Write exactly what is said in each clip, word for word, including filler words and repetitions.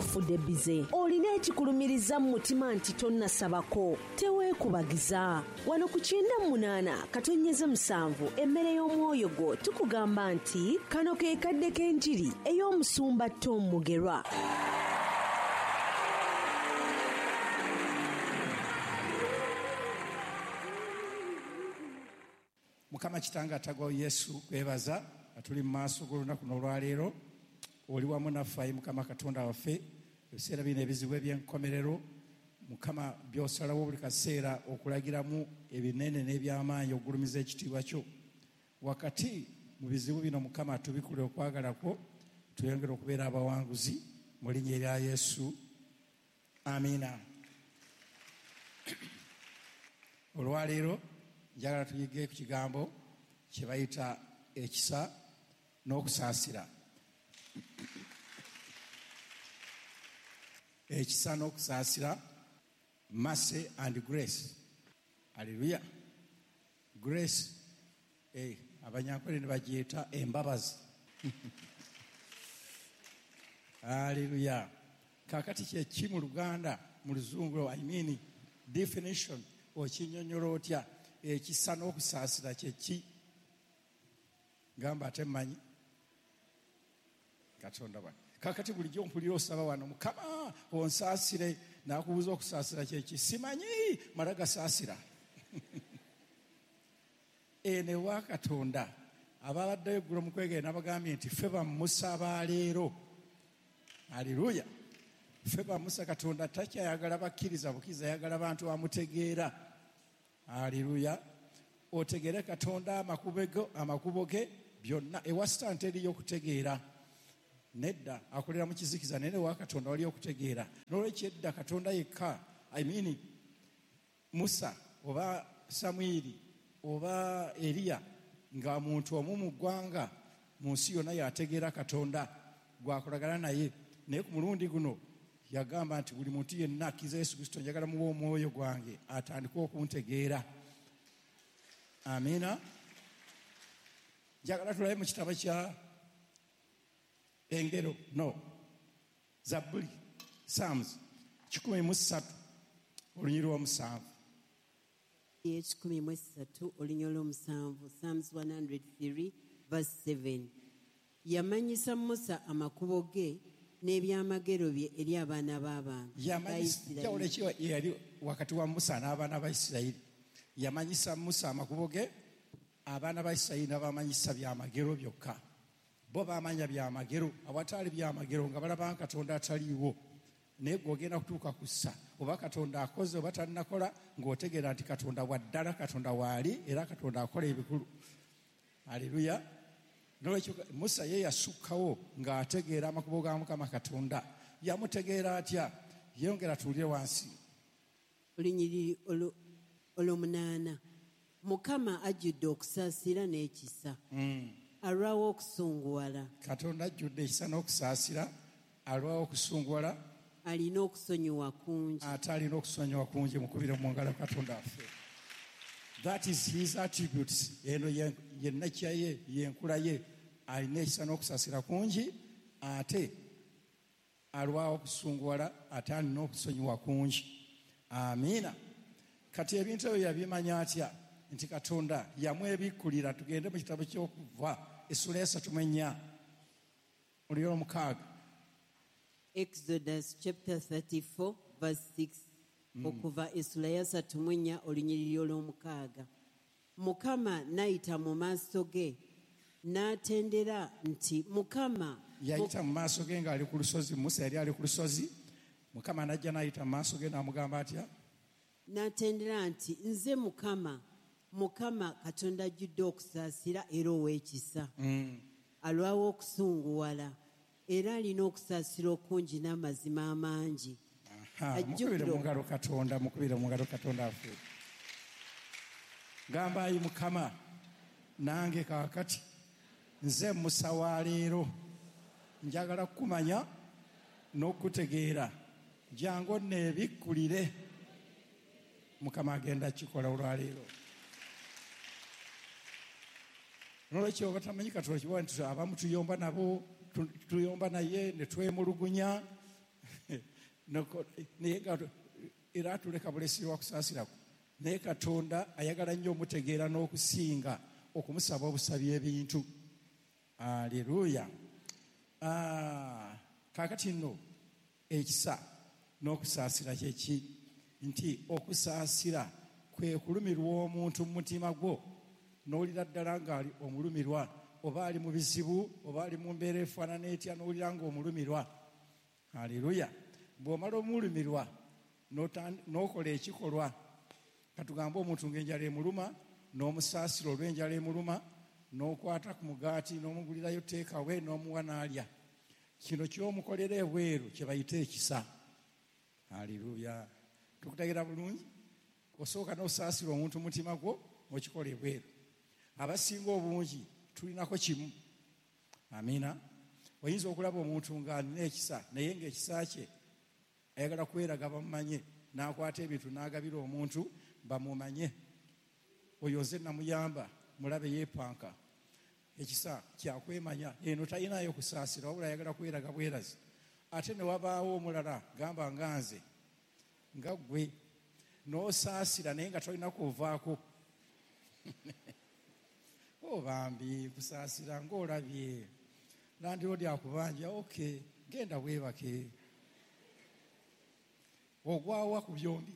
Ofudde bize, olina ekikulumiriza mu mutima nti tonnasabako, teweekubagiza. Wano ku kyenda munaana katonyeze musanvu emmere y'omwoyo gwo tukugamba nti kano ke kadde k'enjiri ey'omusumba Tom Mugerwa. Mukama kitanga atagwawo Yesu kwebaza atuli mu maaso g'olunaku n'olwaleero, oli wamu naffe ayi Mukama Katonda waffe. Ebiseera bino ebizibu eby'enkomerero Mukama by'osalawo buli kaseera okulagiramu ebinene n'eby'amaanyi okugulumiza ekitiibwa kyo. Wakati mu bizibu bino Mukama tubikule okwagala kwo, tweyongere okubeera abawanguzi mu linnya erya Yesu, amiina. Olwaleero njagala tuyige ku kigambo kye bayita ekisa n'okusaasira. Ekisa n'okusaasira, mercy and grace. Hallelujah. Grace, eh, abanyankole ne bagiyita embabazi. Hallelujah. Kaakati kye ki mu Luganda, mu Luzungu, I mean definition, okinnyonnyola otya? Ekisa n'okusaasira kye ki? Gamba ate mmanyi Katonda wange. Kaakati bulijjo mpulira osaba wano, Mukama onsaasire, n'akubuuza okusaasira kye ki? Simanyi, mala gasaasira. Eno ewa Katonda ababaddeyo eggulo mu kwegere n'abagambye nti ffe bamusa ba leero. Haleluya. Ffe bamusa. Katonda takyayagala bakkiriza bukkiriza, ayagala bantu bamutegeera. Haleluya. Otegeere Katonda amakubo ge byonna. Ewa Sitaani teriyo okutegeera, nedda, akolera mu kizikiza, naye ewa Katonda waliyo okutegeera. N'olwekyo edda Katonda yekka, I mean Musa oba Samwiri oba Eriya, nga muntu omu mu ggwanga mu nsi yonna yategeera Katonda gwakolagana naye. Naye ku mulundi guno yagamba nti buli muntu yenna akkiriza Yesu Kristo njagala muwe omwoyo gwange atandike okuntegeera. Amiina. Njagala tulabe mu kitabo kya Engero, no, Zabbuli, Psalms kikumi mu ssatu olunyiri lw'omusanvu. Ekikumi mu essatu olunyiri lw'omusanvu, Psalms one hundred three verse seven. Yamanyisa Musa amakubo ge n'ebyamagero bye eri abaana b'abantu. Yamanyisa yali wakati wa Musa n'abaana ba Isirayiri. Yamanyisa Musa amakubo ge, abaana ba Isirayiri n'abamanyisa byamagero byokka. Bo bamanya byamagero, awatali byamagero nga balaba Katonda ataliiwo. Naye gw'ogenda kutuuka ku ssa oba Katonda akoze oba tannakola, ng'otegeera nti Katonda wa ddala, Katonda waali, era Katonda akola ebikulu. Haleluya. N'olwekyo Musa ye yasukkawo ng'ategeera amakubo ga Mukama Katonda. Yamutegeera atya? Yongera tuwulire wansi. Olunyiriri olw'omunaana. Mukama ajjudde okusaasira n'ekisa. Alwawo okusunguwala. Katonda ajjudde ekisa n'okusaasira, alwawo okusunguwala. Alina okusonyiwa kungi. Ate alina okusonyiwa kungi. Mukubire mu ngalo Katonda waffe. That is his attributes. Eno ye nakya ye, yenkula ye. Alina ekisa n'okusaasira kungi, ate alwawo okusunguwala, ate alina okusonyiwa kungi. Amiina. Kati ebintu ebyo yabimanya atya? Nti Katonda yamwebikkulira. Tugende mu kitabo ky'Okuva essula esatu mu ennya olunyiriri omukaaga. Exodus chapter thirty-four verse six. Mm. Okuva essula ya ssatu mu ennya olunyiriri olw'omukaaga. Mukama n'ayita mu maaso ge n'atendera nti Mukama yayita mu maaso ge ng'ali ku lusozi. Musa yali ali ku lusozi, Mukama n'ajja n'ayita mu maaso ge n'amugamba atya? N'atendera nti nze Mukama, Mukama Katonda ajjudde okusaasira era ow'ekisa. Mm. Alwawo okusunguwala era alina okusaasira okungi n'amazima amangi. Mukubire mu ngalo Katonda, mukubire mu ngalo Katonda affe. Gamba ayi Mukama, nange kaakati nze Musa wa leero, njagala kukumanya n'okutegeera, jangu onneebikkulire. Mukama agenda kikola olwaleero. Nolwekyo batamanyi Katonda kiba nti abamu tuyomba nabo, tuyomba naye ne twemulugunya. Naye nga era atuleka bulesi wakusaasirako. Naye Katonda ayagala nnyo omutegeera n'okusinga okumusaba obusabi ebintu. Aleluya. Ah, kaakati nno ekisa n'okusaasira kye ki? Nti okusaasira kwe kulumirwa omuntu mu mutima gwo, n'owulira ddala ng'ali omulumirwa, oba ali mu bizibu, oba ali mu mbeera efaanana etya, n'owulira ng'omulumirwa. Aleluya. Bw'omala omulumirwa n'okola ekikolwa, katugambe omuntu ng'enjala emuluma, n'omusaasira olw'enjala emuluma, n'okwata ku mugaati n'omugulirayo teekawe n'omuwa n'alya. Kino ky'omukolera ebweru kye bayita ekisa. Aleluya. Tukutegeera bulungi? Osooka n'osaasira omuntu mutima gwo okikola ebweru. Abasinga obungi tulinako kimu. Amiina. Oyinza okulaba omuntu ng'alina ekisa, naye ng'ekisa kye ayagala kweraga bamumanye, n'akwata ebintu n'agabira omuntu bamumanye. Oyo nze namuyamba, mulabe yeepanka. Ekisa kyakwemanya, eno talinayo kusaasira, wabula ayagala kweraga bwerazi. Ate ne wabaawo omulala, gamba nga nze, nga ggwe, n'osaasira naye nga tolina kuvaako. O bambi, kusaasira ng'olabye. Landiroodi akubanja, okay, genda weebake. Ogwawa ku byombi.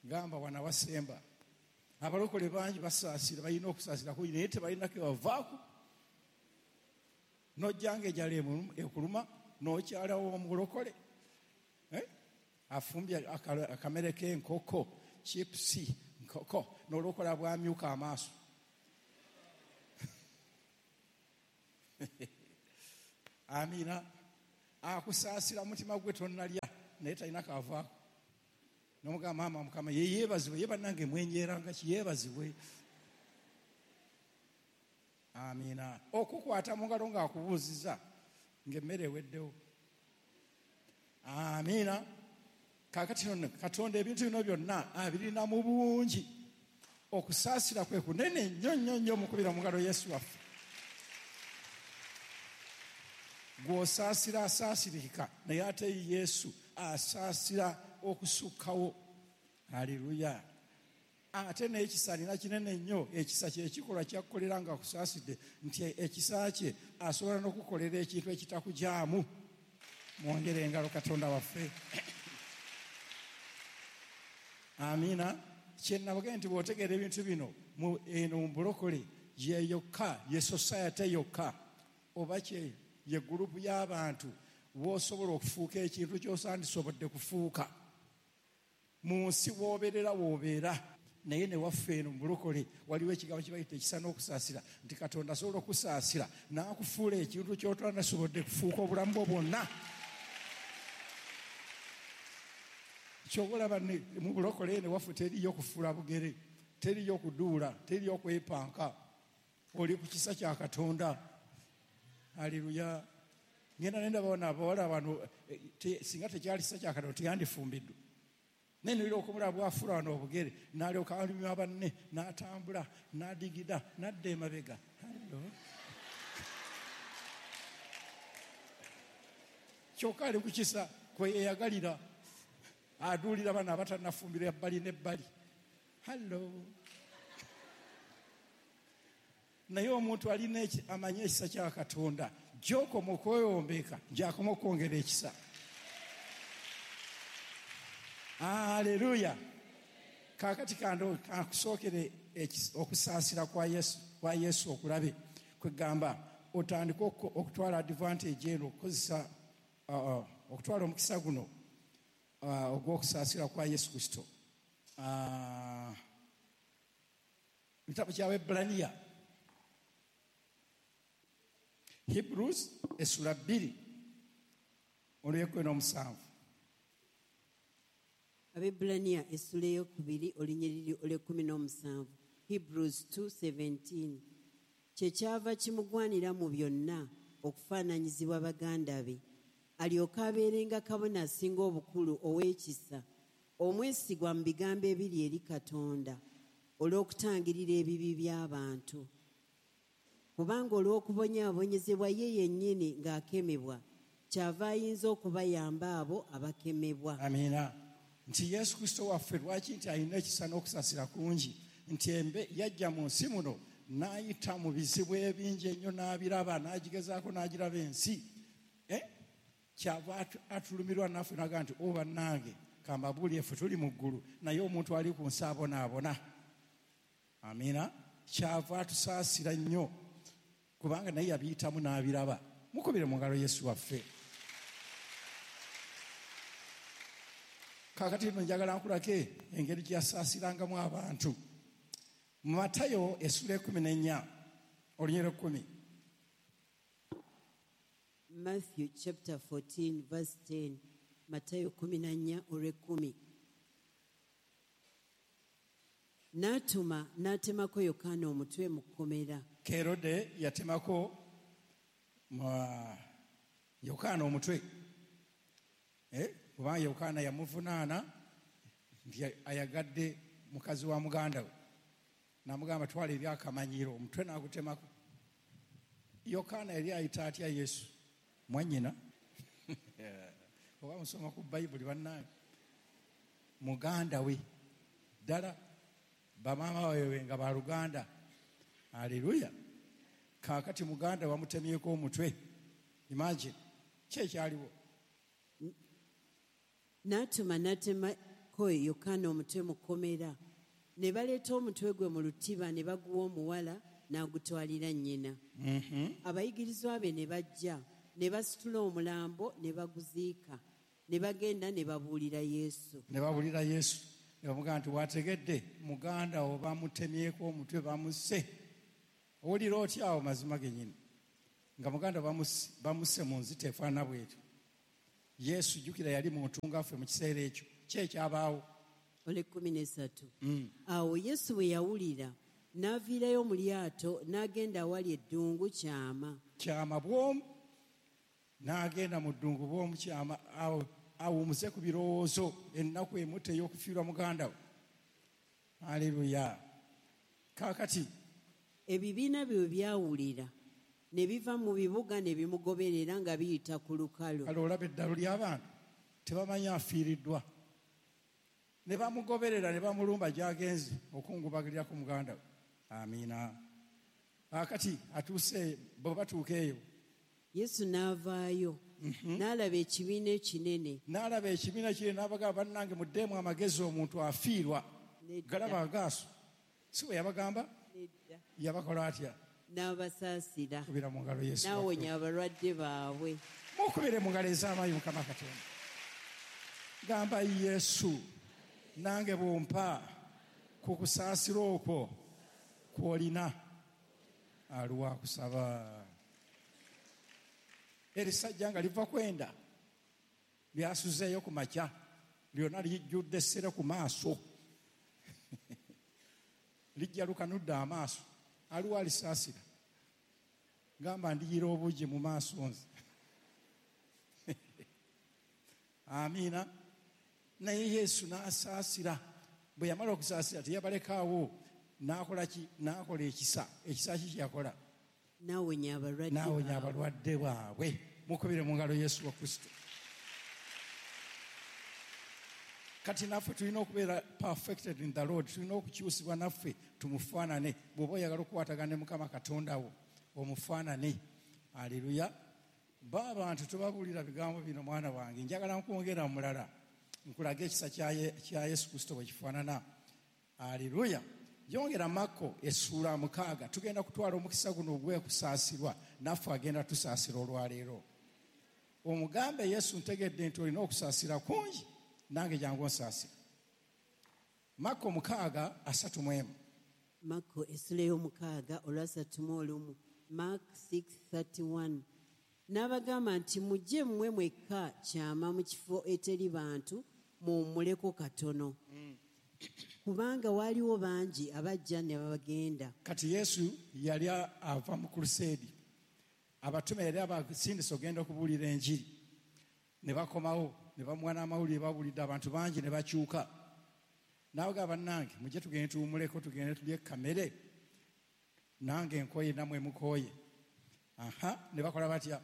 Gamba wana wasemba. Abalokole bangi basaasira, balina okusaasira kungi, naye tebalina ke bavaako. N'ojjanga enjala ekuluma, n'okyalawo omulokole. Eh? Afumbye akamere k'enkoko, chipusi, nkoko, n'olokola bwamyuka amaaso. Amiina. Akusaasira mutima gwe tonnalya, naye talina kavaako. N'omugamba maama Mukama ye yeebazibwe, ye bannange mwenjeeranga ki, yeebazibwe. Amiina. Okukwata mu ngalo ng'akubuuzizza ng'emmere eweddewo. Amiina. Kaakati nno Katonda ebintu bino byonna abirina mu bungi. Okusaasira kwe kunene nnyo nnyo nnyo, mukubira mu ngalo Yesu waffe. Gw'osaasira asaasirika, naye ate Yesu asaasira okusukkawo. Aleluya. Ate n'ekisa alina kinene nnyo. Ekisa kye kikolwa kyakkolera nga akusaasidde, nti ekisa kye asobola n'okukolera ekintu ekitakujaamu. Mwongere engalo Katonda waffe. Amiina. Kye nabagambye nti bw'otegeera ebintu bino eno mu bulokole ye yokka, ye society yokka, oba kye ye gurupu y'abantu w'osobola okufuuka ekintu ky'osandisobodde kufuuka. Mu nsi w'obeerera w'obeera, naye ne waffe eno mu bulokole waliwo ekigambo kye bayita ekisa n'okusaasira, nti Katonda asobola okusaasira n'akufuula ekintu ky'otandisobodde kufuuka obulamu bwo bwonna. Ky'oba olaba mu bulokole eno waffe teriyo kufuula bugere, teriyo kuduula, teriyo kwepanka. Oli ku kisa kya Katonda. Aleluya. Ngenda nenda bano abawala bano, singa tekyali kisa kya Katonda teyandifumbiddwa. Naye nolira okumulaba bw'afuula wano obugere, n'alyoka alumya banne, n'atambula, n'adigida, n'adda emabega. Kyokka ali ku kisa kwe yeeyagalira. Aduulira bano abatannafumbirwa ebbali n'ebbali. Hallo. Naye omuntu alina amanyi ekisa kya Katonda, gy'okoma okweyombeeka, gy'akoma okwongera ekisa. Aleluya. Kaakati kankusookere okusaasira kwa Yesu, kwa Yesu okulabe. Kwegamba otandike okutwala advantage eno, okukozesa okutwala omukisa guno ogw'okusaasira kwa Yesu Kristo. Ekitabo ky'Abaebbulaniya, Hebrews essula bbiri olw'ekkumi n'omusanvu. Abaebbulaniya essula ey'okubiri olunyiriri olw'ekkumi n'omusanvu. Hebrews two seventeen. Kye kyava kimugwanira mu byonna okufaananyizibwa baganda be, alyoke abeerenga kabona asinga obukulu ow'ekisa, omwesigwa mu bigambo ebiri eri Katonda, olw'okutangirira ebibi by'abantu. Kubanga olw'okubonyaabonyezebwa ye yennyini ng'akemebwa, Kyava ayinza okubayamba abo abakemebwa. Amiina. Nti Yesu Kristo waffe lwaki nti alina ekisa n'okusaasira kungi, nti embe yajja mu nsi muno n'ayita mu bizibu ebingi ennyo n'abiraba, n'agigezaako n'agiraba ensi. Eh? Kyava atulumirwa naffe n'agamba nti o bannange kambabuulire ffe tuli mu ggulu naye omuntu ali ku nsi abonaabona. Amiina. Kyava atusaasira nnyo kubanga naye yabiyitamu n'abiraba. Mukubire mu ngalo Yesu waffe. Kaakati nno njagala nkulake engeri gye yasaasirangamu abantu. Mu Matayo essula ekkumi n'ennya olunyiriri ekkumi. Matthew chapter fourteen verse ten. Matayo kumi na nnya olw'ekkumi. N'atuma n'atemako Yokaana omutwe mu kkomera. Kerode yatemako Yokaana omutwe. Eh? Kubanga Yokaana yamuvunaana nti ayagadde mukazi wa muganda we. N'amugamba twala eri akamanyiro, omutwe n'agutemako. Yokaana yali ayita atya Yesu? Mwannyina. Oba musoma ku Bayibuli bannange. Muganda we. Ddala bamaama baabwe nga baluganda. Haleluya. Kaakati muganda bamutemyeko omutwe. Imagine. Ki ekyaliwo? N'atuma n'atemako Yokaana omutwe mu kkomera. Ne baleeta omutwe gwe mu lutiba ne baguwa omuwala n'agutwalira nnyina. Abayigirizwa be ne bajja ne basitula omulambo ne baguziika ne bagenda ne babuulira Yesu. Ne babuulira Yesu. Ne bamugamba nti wategedde muganda wo bamutemyeko omutwe bamusse. Owulira otya awo mazima gennyini? Nga muganda bamusse mu nzita efaanana bw'etyo. Yesu jjukira yali muntu ngaffe mu kiseera ekyo. Ki ekyabaawo? Olw'ekkumi n'essatu. Awo Yesu bwe yawulira n'aviirayo mu lyato n'agenda awali eddungu kyama. Kyama bw'omu n'agenda mu ddungu bw'omu kyama awo awumuze ku birowoozo ennaku emutte ey'okufiirwa muganda we. Haleluya. Kaakati ebibiina bye byawulira ne biva mu bibuga ne bimugoberera nga biyita ku lukalu. Kale olaba eddalu ly'abantu tebamanyi afiiriddwa. Ne bamugoberera ne bamulumba gy'agenze okungubagirira ku muganda we. Amiina. Kaakati atuuse bwe batuuka eyo. Yesu n'avaayo n'alaba ekibiina ekinene. N'alaba ekibiina kinene n'abagamba bannange muddeemu amagezi omuntu afiirwa. Galaba agaaso. Si bwe yabagamba? Yabakola atya? N'abasaasira. Kubira mu ngalo Yesu. N'awonya abalwadde baabwe. Mukubire mu ngalo ez'amaanyi Mukama Katonda. Gamba Yesu nange bw'ompa ku kusaasira okwo kw'olina aliwo akusaba. Erisajja nga liva kwenda lyasuzeeyo ku makya lyonna lijjudde essere ku maaso. Lijja lukanudde amaaso. Aliwo alisaasira. Gamba ndiyira obugi mu maaso nze. Amiina. Naye Yesu n'asaasira. Bwe yamala okusaasira teyabalekaawo n'akola ki? N'akola ekisa. Ekisa ki kye yakola? N'awonya abalwadde. N'awonya abalwadde baabwe. Mukubire mu ngalo Yesu wa Kristo. Kati naffe tulina okubeera perfected in the Lord. Tulina okukyusibwa naffe tumufaanane. Bw'oba oyagala okukwatagana ne Mukama Katonda wo omufaanane. Haleluya. Ba abantu tubabuulira bigambo bino mwana wange. Njagala nkwongera mulala. Nkulage ekisa kya Yesu Kristo bwe kifaanana. Haleluya. Yongera Makko essuula mukaaga. Tugenda kutwala omukisa guno ogw'okusaasirwa naffe agenda tusaasira olwaleero. Omugambe Yesu ntegedde nti olina okusaasira kungi nange jangu onsaasira. Makko mukaaga asatu mu emu. Makko essula ey'omukaaga olwasatu mu olumu. Mark six thirty-one. N'abagamba nti mujje mmwe mwekka kyama mu kifo eteri bantu muwummuleko katono. Kubanga waaliwo bangi abajja ne babagenda. Kati Yesu yali ava mu kruseedi. Abatume yali abasindise ogenda okubuulira enjiri. Ne bakomawo ne bamuwa n'amawulire babuulidde abantu bangi ne bakyuka. N'abagamba bannange mujje tugende tuwummuleko tugende tulye kamere. Nange nkooye nammwe mukooye. Aha, ne bakola batya?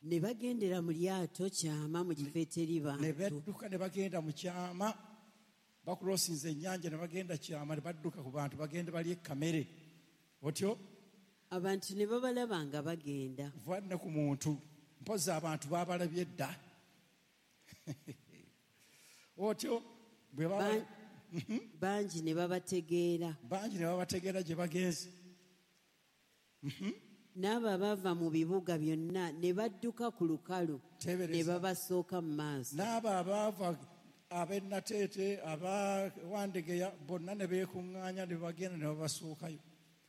Ne bagendera mu lyato kyama mu kifo eteri bantu. Ne badduka ne bagenda mu kyama, bakulosinze ennyanja ne bagenda kyama ne badduka ku bantu bagende balye kamere. Otyo? Abantu ne babalaba nga bagenda. Va ne ku muntu, mpozi abantu babalabye dda. Otyo bwe baba bangi ne babategeera. Bangi ne babategeera gye bagenze. N'abo abava mu bibuga byonna ne badduka ku lukalu ne babasooka mu maaso. N'abo abaava ab'e Nateete, aba Wandegeya bonna ne beekuŋŋaanya ne bagenda ne babasookayo.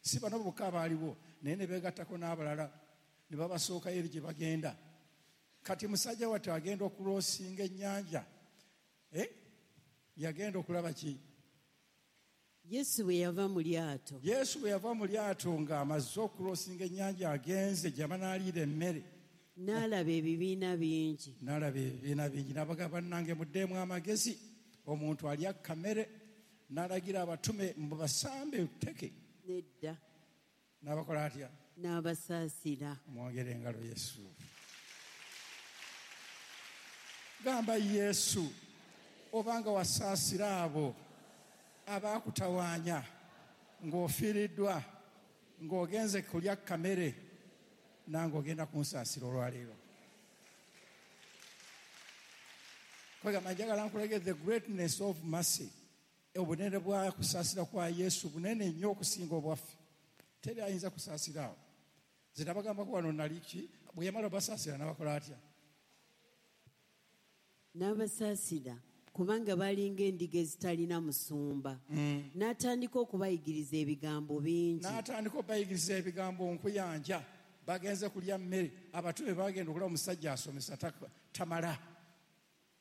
Si bano bokka abaaliwo, naye ne beegattako n'abalala ne babasookayo eri gye bagenda. Kati musajja wattu agenda okuloosinga ennyanja. Eh? Yagenda okulaba ki? Yesu bwe yava mu lyato. Yesu bwe yava mu lyato ng'amaze okuloosinga ennyanja agenze gye banaaliira emmere. N'alaba ebibiina bingi. N'alaba ebibiina bingi. N'abagamba bannange muddeemu amagezi. Omuntu alya kamere. N'alagira abatume mubasambe tteke. Nedda. N'abakola atya? N'abasaasira. Mwongere engalo Yesu. Gamba Yesu, obanga wasaasira abo abaakutawaanya ng'ofiiriddwa ng'ogenze kulya kamere nange ogenda kunsaasira olwaleero. Kwegamba njagala nkulage the greatness of mercy. Obunene bwa kusaasira kwa Yesu bunene nnyo okusinga obwaffe. Teri ayinza kusaasira awo. Nze nabagambako wano nali ki, bwe yamala obasaasira n'abakola atya? N'abasaasira kubanga balinga endiga ezitalina musumba. Mm. N'atandika okubayigiriza ebigambo bingi. N'atandika okubayigiriza ebigambo nkuyanja. Bagenze kulya mmere. Abatume bagenda okulaba omusajja asomesa tamala.